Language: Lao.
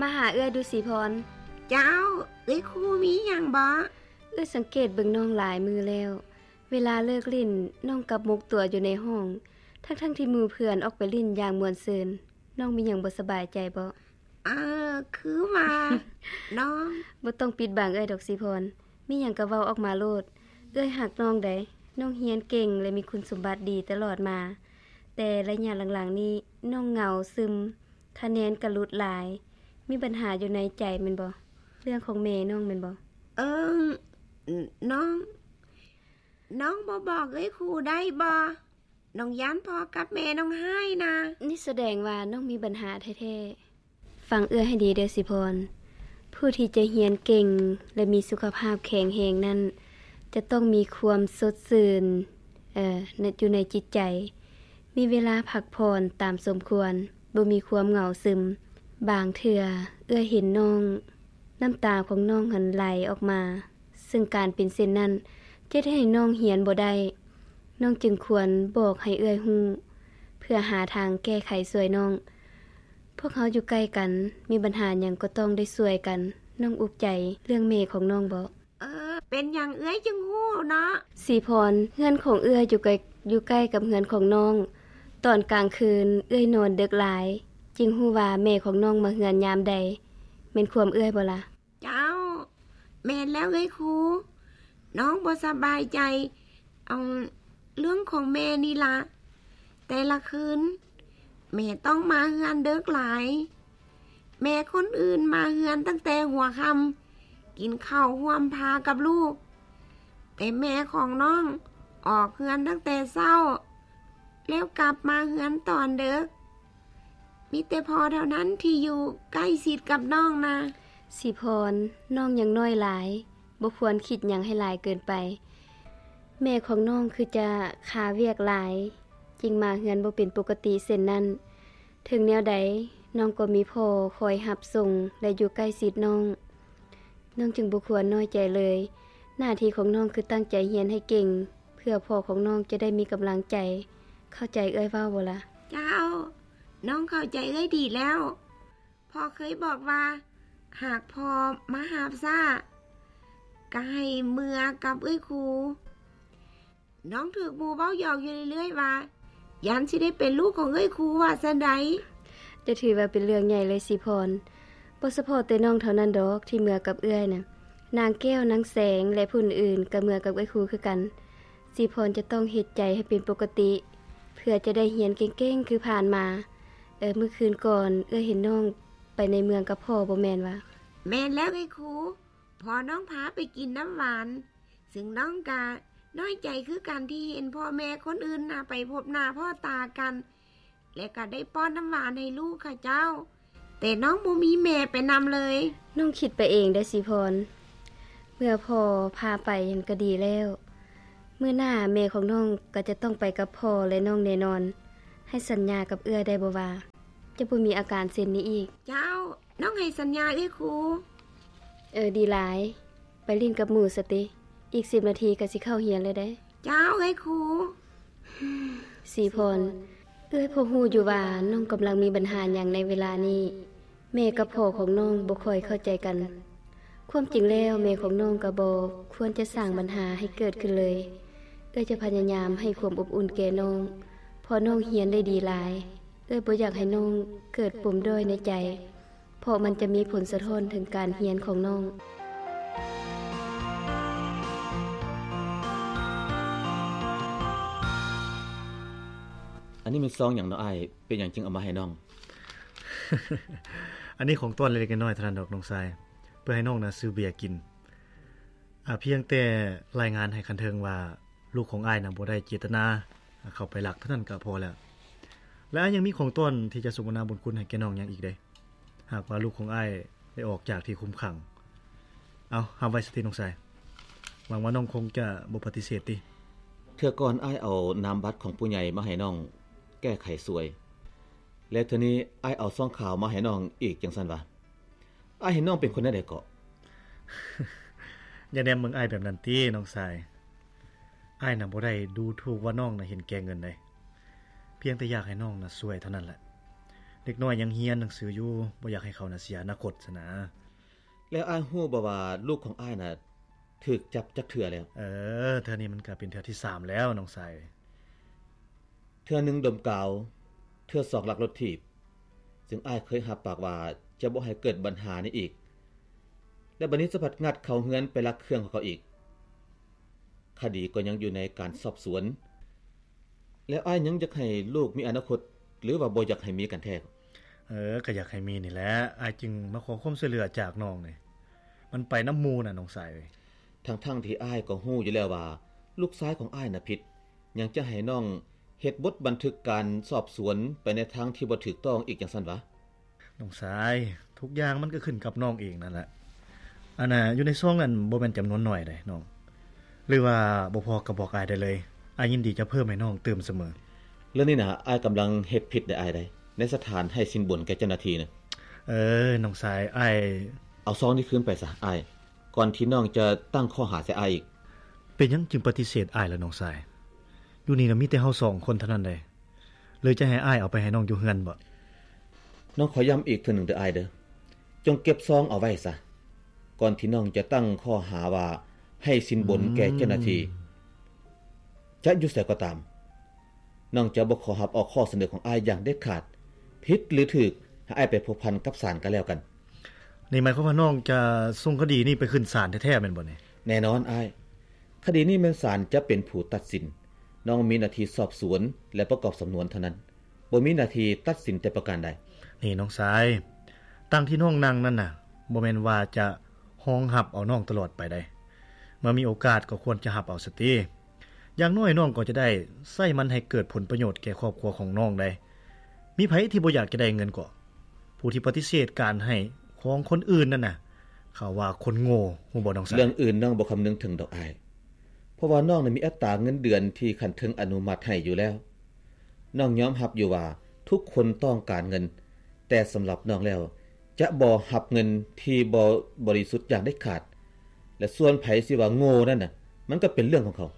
ມາຫາເອື້ອຍດູສີພອນ. ເຈົ້າ, ເອື້ອຍຄູມີຫຍັງບໍ? ເອື້ອຍສັງເກດເບິ່ງນ້ອງຫຼາຍມື້ແລ້ວ, ເວລາເລີກຫຼິ້ນ, ນ້ອງກັບໝົກຕົວຢູ່ໃນຫ້ອງ, ທັງໆທີ່ໝູ່ເພື່ອນອອກໄປຫຼິ້ນຢ່າງມ່ວນຊື່ນ. ນ້ອງມີຫຍັງບໍ່ສະບາຍໃຈບໍ? ເອີ, ຄືວ່າ ນ້ອງ ບໍ່ຕ້ອງປິດບັງເອື້ອຍດອກສີພອນ, ມີຫຍັງກໍເວົ້າອອກມາໂລດ. ເອື້ອຍຮັກນ້ອງໃດ໋, ນ້ອງຮຽນເກັ່ງ ແລະ ມີຄຸນສົມບັດດີຕະຫຼອດມາ, ແຕ່ໄລຍະຫຼັງໆນີ້ນ້ອງເຫງົາຊຶມ, ຄະແນນກໍຫຼຸດຫຼາຍ. ມີບັນຫາຢູ່ໃນໃຈແມ່ນບໍ່? ເລື່ອງຂອງແມ່ນ້ອງແມ່ນບໍ່? ເອີ, ນ້ອງ, ນ້ອງບໍ່ບອກເອື້ອຍຄູໄດ້ບໍ່? ນ້ອງຢ້ານພໍ່ກັບແມ່ນ້ອງຮ້າຍນະ. ນີ້ສະແດງວ່ານ້ອງມີບັນຫາແທ້ໆ. ຟັງເອື້ອຍໃຫ້ດີເດີສີພອນ, ຜູ້ທີ່ຈະຮຽນເກັ່ງ ແລະ ມີສຸຂະພາບແຂງແຮງນັ້ນ ຈະຕ້ອງມີຄວາມສົດຊື່ນ, ເອີ, ຢູ່ໃນຈິດໃຈ, ມີເວລາພັກຜ່ອນຕາມສົມຄວນ, ບໍ່ມີຄວາມເຫງົາຊຶມ. ບາງເທື່ອເອື້ອຍເຫັນນ້ອງ, ນ້ຳຕາຂອງນ້ອງຫັ້ນໄຫຼອອກມາ. ເຊິ່ງການເປັນເຊັ່ນນັ້ນ ຈະເຮັດໃຫ້ນ້ອງຮຽນບໍ່ໄດ້. ນ້ອງຈຶ່ງຄວນບອກໃຫ້ເອື້ອຍຮູ້ ເພື່ອຫາທາງແກ້ໄຂຊ່ວຍນ້ອງ. ພວກເຮົາຢູ່ໃກ້ກັນ, ມີບັນຫາຫຍັງກໍຕ້ອງໄດ້ຊ່ວຍກັນ. ນ້ອງອຸກໃຈເລື່ອງແມ່ຂອງນ້ອງບໍ? ເອີ, ເປັນຫຍັງເອື້ອຍຈຶ່ງຮູ້ເນາະ? ສີພອນ, ເຮືອນຂອງເອື້ອຍຢູ່ໃກ້, ຢູ່ໃກ້ກັບເຮືອນຂອງນ້ອງ. ຕອນກາງຄືນເອື້ອຍນອນເດິກຫຼາຍ, ຈຶ່ງຮູ້ວ່າແມ່ຂອງນ້ອງມາເຮືອນຍາມໃດ. ແມ່ນຄວາມເອື້ອຍບໍລະ? ເຈົ້າ, ແມ່ນແລ້ວເອື້ອຍຄູ, ນ້ອງບໍ່ສະບາຍໃຈ ເອົາ ເລື່ອງຂອງແມ່ນີ້ລະ. ແຕ່ລະຄືນ ແມ່ຕ້ອງມາເຮືອນເດິກຫຼາຍ. ແມ່ຄົນອື່ນມາເຮືອນຕັ້ງແຕ່ຫົວຄ່ຳ, ກິນເຂົ້າຮ່ວມພາກັບລູກ, ແຕ່ແມ່ຂອງນ້ອງອອກເຮືອນຕັ້ງແຕ່ເຊົ້າ ແລ້ວກັບມາເຮືອນຕອນເດິກ. ມີແຕ່ພໍ່ເທົ່ານັ້ນທີ່ຢູ່ໃກ້ຊິດກັບນ້ອງນະ. ສີພອນ, ນ້ອງຍັງນ້ອຍຫຼາຍ, ບໍ່ຄວນຄິດຫຍັງໃຫ້ຫຼາຍເກີນໄປ. ແມ່ຂອງນ້ອງຄືຈະຄາວຽກຫຼາຍ, ຈຶ່ງມາເຮືອນບໍ່ເປັນປົກກະຕິເຊັ່ນນັ້ນ. ເຖິງແນວໃດ, ນ້ອງກໍມີພໍ່ຄອຍຮັບສົ່ງ ແລະ ຢູ່ໃກ້ຊິດນ້ອງ. ນ້ອງຈຶ່ງບໍ່ຄວນນ້ອຍໃຈເລີຍ. ໜ້າທີ່ຂອງນ້ອງຄືຕັ້ງໃຈຮຽນໃຫ້ເກັ່ງ, ເພື່ອພໍ່ຂອງນ້ອງຈະໄດ້ມີກຳລັງໃຈ. ເຂົ້າໃຈເອື້ອຍເວົ້າບໍ່ລະ? ເຈົ້າ, ນ້ອງເຂົ້າໃຈເອື້ອຍດີແລ້ວ. ພໍ່ເຄີຍບອກວ່າ ຫາກພໍ່ມາຮັບຊ້າ ກໍໃຫ້ເມືອກັບເອື້ອຍຄູ. ນ້ອງຖືກໝູ່ເວົ້າຢອກຢູ່ເລື້ອຍໆວ່າ ຢ້ານຊິໄດ້ເປັນລູກຂອງເອື້ອຍຄູວ່າຊັ້ນໃດ. ຈະຖືວ່າເປັນເລື່ອງໃຫຍ່ເລີຍສີພອນ. ບໍ່ສະເພາະແຕ່ນ້ອງເທົ່ານັ້ນດອກທີ່ເມືອກັບເອື້ອຍນະ. ນາງແກ້ວ, ນາງແສງ ແລະ ຜູ້ອື່ນໆກໍເມືອກັບເອື້ອຍຄູຄືກັນ. ສີພອນຈະຕ້ອງເຮັດໃຈໃຫ້ເປັນປົກກະຕິ ເພື່ອຈະໄດ້ຮຽນເກັ່ງໆຄືຜ່ານມາ. ເອີ, ມື້ຄືນກ່ອນເອື້ອຍເຫັນນ້ອງໄປໃນເມືອງກັບພໍ່ບໍ່ແມ່ນວະ? ແມ່ນແລ້ວເອື້ອຍຄູ, ພໍ່ນ້ອງພາໄປກິນນ້ຳຫວານ. ຊຶ່ງນ້ອງກະນ້ອຍໃຈຄືກັນທີ່ເຫັນພໍ່ແມ່ຄົນອື່ນນະໄປພົບໜ້າພໍ້ຕາກັນ ແລະ ກະໄດ້ປ້ອນນ້ຳຫວານໃຫ້ລູກເຂົາເຈົ້າ, ແຕ່ນ້ອງບໍ່ມີແມ່ໄປນຳເລີຍ. ນ້ອງຄິດໄປເອງໄດ໋ສີພອນ, ເມື່ອພໍ່ພາໄປຫັ້ນກະດີແລ້ວ. ມື້ໜ້າແມ່ຂອງນ້ອງກະຈະຕ້ອງໄປກັບພໍ່ ແລະ ນ້ອງແນ່ນອນ. ໃຫ້ສັນຍາກັບເອື້ອຍໄດ້ບໍ່ວ່າ ຈະບໍ່ມີອາການເຊັ່ນນີ້ອີກ? ເຈົ້າ, ນ້ອງໃຫ້ສັນຍາເອື້ອຍຄູ. ເອີ, ດີຫຼາຍ. ໄປຫຼິ້ນກັບໝູ່ຊະຕິ, ອີກສິບນາທີກໍຊິເຂົ້າຮຽນແລ້ວເດ້. ເຈົ້າ, ເອື້ອຍຄູ. ສີພອນ, ເອື້ອຍພໍຮູ້ຢູ່ວ່ານ້ອງກຳລັງມີບັນຫາຫຍັງໃນເວລານີ້. ແມ່ກັບພໍ່ຂອງນ້ອງບໍ່ຄ່ອຍເຂົ້າໃຈກັນ. ຄວາມຈິງແລ້ວແມ່ຂອງນ້ອງກໍບໍ່ຄວນຈະສ້າງບັນຫາໃຫ້ເກີດຂຶ້ນເລີຍ. ເອື້ອຍຈະພະຍາຍາມໃຫ້ຄວາມອົບອຸ່ນແກ່ນ້ອງ, ເພາະນ້ອງຮຽນໄດ້ດີຫຼາຍ. ເອື້ອຍບໍ່ຢາກໃຫ້ນ້ອງເກີດປົມດ້ອຍໃນໃຈ. ເພາະມັນຈະມີຜົນສະທ້ອນເຖິງການຮຽນຂອງນ້ອງ. ອັນນີ້ແມ່ນຊອງຫຍັງເນາະອ້າຍ? ເປັນຫຍັງຈຶ່ງເອົາມາໃຫ້ນ້ອງ? ອັນນີ້ຂອງຕ້ອນເລັກໆນ້ອຍໆເທົ່ານັ້ນດອກນ້ອງຊາຍ, ເພື່ອໃຫ້ນ້ອງນະຊື້ເບຍກິນ. ອາ, ພຽງແຕ່ລາຍງານໃຫ້ຂັ້ນເທິງວ່າ ລູກຂອງອ້າຍນະບໍ່ໄດ້ເຈດຕະນາເຂົ້າໄປລັກເທົ່ານັ້ນກະພໍແລ້ວ. ແລະ ອ້າຍຍັງມີຂອງຕ້ອນທີ່ຈະສົມທະນາບຸນຄຸນໃຫ້ແກ່ນ້ອງຫຍັງອີກເດ້. ຫາກວ່າລູກຂອງອ້າຍໄດ້ອອກຈາກທີ່ຄຸມຂັງ. ເອົາ, ຮັບໄວ້ຊະຕິນ້ອງຊາຍ. ຫວັງວ່ານ້ອງຄົງຈະບໍ່ປະຕິເສດຕິ. ເທື່ອກ່ອນອ້າຍເອົານາມບັດຂອງຜູ້ໃຫຍ່ມາໃຫ້ນ້ອງແກ້ໄຂຊ່ວຍ, ແລ້ວເທື່ອນີ້ອ້າຍເອົາຊອງຂາວມາໃຫ້ນ້ອງອີກ ຈັ່ງຊັ້ນຫວາ? ອ້າຍເຫັນນ້ອງເປັນຄົນແນວໃດເກາະ? ຢ່າແນມເບິ່ງອ້າຍແບບນັ້ນຕິນ້ອງຊາຍ. ອ້າຍນະບໍ່ໄດ້ດູຖູກວ່ານ້ອງນະເຫັນແກ່ເງິນໃດ, ພຽງແຕ່ຢາກໃຫ້ນ້ອງນະຊ່ວຍເທົ່ານັ້ນແຫຼະ. ແລ ເດັກນ້ອຍຍັງຮຽນໜັງສືຢູ່, ບໍ່ຢາກໃຫ້ເຂົານະເສຍອະນາຄົດຊັ້ນນະ. ແລ້ວອ້າຍຮູ້ບໍ່ວ່າລູກຂອງອ້າຍນະຖືກຈັບຈັກເທື່ອແລ້ວ? ເອີ, ເທື່ອນີ້ມັນກະເປັນເທື່ອທີສາມແລ້ວນ້ອງຊາຍ. ເທື່ອໜຶ່ງດົມກາວ, ເທື່ອສອງລັກລົດຖີບ, ຊຶ່ງອ້າຍເຄີຍຮັບປາກວ່າຈະບໍ່ໃຫ້ເກີດບັນຫານີ້ອີກ. ແລະບັດນີ້ສະພັດງັດເຂົ້າເຮືອນໄປລັກເຄື່ອງຂອງເຂົາອີກ. ຄະດີກໍຍັງຢູ່ໃນການສອບສວນ. ແລ້ວອ້າຍຍັງຢາກໃຫ້ລູກມີອະນາຄົດ ຫຼືວ່າບໍ່ຢາກໃຫ້ມີກັນແທ້? ເອີ, ກໍຢາກໃຫ້ມີນີ້ແຫຼະ, ອ້າຍຈຶ່ງມາຂໍຄວາມຊ່ວຍເຫຼືອຈາກນ້ອງນີ້. ມັນໄປນຳໝູ່ນະນ້ອງຊາຍເອີຍ. ທັງໆທີ່ອ້າຍກໍຮູ້ຢູ່ແລ້ວວ່າລູກຊາຍຂອງອ້າຍນະຜິດ, ຍັງຈະໃຫ້ນ້ອງເຮັດບົດບັນທຶກການສອບສວນໄປໃນທາງທີ່ບໍ່ຖືກຕ້ອງອີກຈັ່ງຊັ້ນຫວາ? ນ້ອງຊາຍ, ທຸກຢ່າງມັນກໍຂຶ້ນກັບນ້ອງເອງນັ້ນແຫຼະ. ອັນນ່າ ຢູ່ໃນຊອງນັ້ນບໍ່ແມ່ນຈຳນວນໜ້ອຍໃດ໋ນ້ອງ. ຫຼືວ່າບໍ່ພໍກໍບອກອ້າຍໄດ້ເລີຍ, ອ້າຍຍິນດີຈະເພີ່ມໃຫ້ນ້ອງຕື່ມສະເໝີ. ເລື່ອງນີ້ນະ ອ້າຍກຳລັງເຮັດຜິດໃດ໋ອ້າຍໃດ໋ ໃນສະຖານໃຫ້ສິນບົນແກ່ເຈົ້າໜ້າທີ່ນະ. ເອີ, ນ້ອງຊາຍ, ອ້າຍ ເອົາຊອງນີ້ຄືນໄປຊະອ້າຍ, ກ່ອນທີ່ນ້ອງຈະຕັ້ງຂໍ້ຫາໃສ່ອ້າຍອີກ. ເປັນຫຍັງຈຶ່ງປະຕິເສດອ້າຍລະນ້ອງຊາຍ? ຢູ່ນີ້ນະມີແຕ່ເຮົາສອງຄົນເທົ່ານັ້ນໃດ໋. ຫຼືຈະໃຫ້ອ້າຍເອົາໄປໃຫ້ນ້ອງຢູ່ເຮືອນບໍ? ນ້ອງຂໍຢ້ຳອີກເທື່ອໜຶ່ງເດີອ້າຍເດີ, ຈົ່ງເກັບຊອງເອົາໄວ້ຊະ, ກ່ອນທີ່ນ້ອງຈະຕັ້ງຂໍ້ຫາວ່າໃຫ້ສິນບົນແກ່ເຈົ້າໜ້າທີ່. ຈະຢູ່ໃສກໍຕາມ, ນ້ອງຈະບໍ່ຂໍຮັບເອົາຂໍ້ສະເໜີຂອງອ້າຍຢ່າງເດັດຂາດ. ຜິດຫຼືຖືກ, ໃຫ້ອ້າຍໄປພົວພັນກັບສານກໍແລ້ວກັນ. ນີ້ໝາຍຄວາມວ່ານ້ອງຈະສົ່ງຄະດີນີ້ໄປຂຶ້ນສານແທ້ໆແມ່ນບໍ່ນີ້? ແນ່ນອນອ້າຍ, ຄະດີນີ້ແມ່ນສານຈະເປັນຜູ້ຕັດສິນ. ນ້ອງມີໜ້າທີ່ສອບສວນ ແລະ ປະກອບສຳນວນເທົ່ານັ້ນ, ບໍ່ມີໜ້າທີ່ຕັດສິນແຕ່ປະການໃດ. ນີ້ນ້ອງຊາຍ, ຕັ່ງທີ່ນ້ອງນັ່ງນັ້ນນະ ບໍ່ແມ່ນວ່າຈະຮອງຮັບເອົານ້ອງຕະຫຼອດໄປໃດ໋. ເມື່ອມີໂອກາດກໍຄວນຈະຮັບເອົາຊະຕິ. ຢ່າງໜ້ອຍນ້ອງກໍຈະໄດ້ໃຊ້ມັນໃຫ້ເກີດຜົນປະໂຫຍດແກ່ຄອບຄົວຂອງນ້ອງໄດ໋. ມີໃຜທີ່ບໍ່ຢາກຈະໄດ້ເງິນກໍ? ຜູ້ທີ່ປະຕິເສດການໃຫ້ຂອງຄົນອື່ນນັ້ນນະ ເຂົາວ່າຄົນໂງ່, ຮູ້ບໍ່ນ້ອງຊາຍ? ເລື່ອງອື່ນນ້ອງບໍ່ຄຳນຶງເຖິງດອກອ້າຍ, ເພາະວ່ານ້ອງນະມີອັດຕາເງິນເດືອນທີ່ຂັ້ນເທິງອະນຸມັດໃຫ້ຢູ່ແລ້ວ. ນ້ອງຍອມຮັບຢູ່ວ່າທຸກຄົນຕ້ອງການເງິນ, ແຕ່ສຳລັບນ້ອງແລ້ວ ຈະບໍ່ຮັບເງິນທີ່ບໍ່ບໍລິສຸດຢ່າງເດັດຂາດ. ແລະ ສ່ວນໃຜຊິວ່າໂງ່ນັ້ນນະ, ມັນກໍເປັນເລື່ອງຂອງເຂົາ.